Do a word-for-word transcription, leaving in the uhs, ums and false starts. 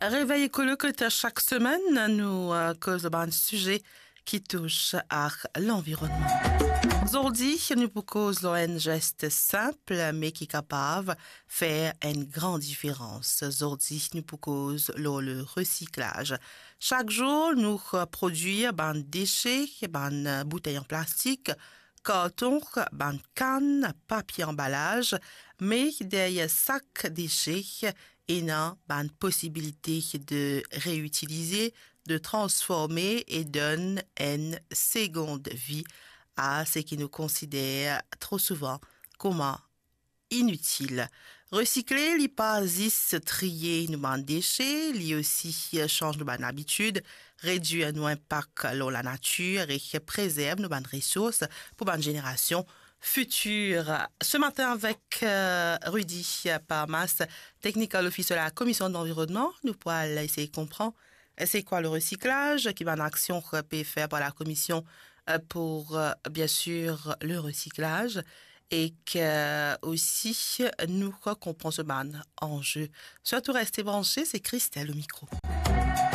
Revey Ekolo kot sak semenn, nou, eh, koz bann size ki tous ar lanvironnman. Zordi, nou pou koz lor enn zes sinp, me ki kapav fer enn gran diferans. Zordi, nou pou koz lor le resiklaz. Sak zour, nou, eh, prodwir bann dese, bann, eh, boutey an plastik, karton, bann kann, papie anbalaz, me deryer sak dese, ena bann posibilite de reitilize, de transforme e donn enn segond vi a seki nou konsider tro souvan kouma initil. Resikle, li pa zis triye nou bann dese, li osi sanz nou bann abitid, redwir nou inpak lor lanatir e prezerv nou bann resours pou bann zenerasion fitir. Se matin avek, eh, Rudy Parmas, Technical Officer la Komision Lanvironnman. Nou pou al esey konpran, eh, se kwa le resiklaz, ki bann aksion pe fer par la Komision, eh, pou, eh, bien sir, le resiklaz, e ki, eh, osi nou konpran so bann anze. Sirtou reste branche, se Christelle o mikro.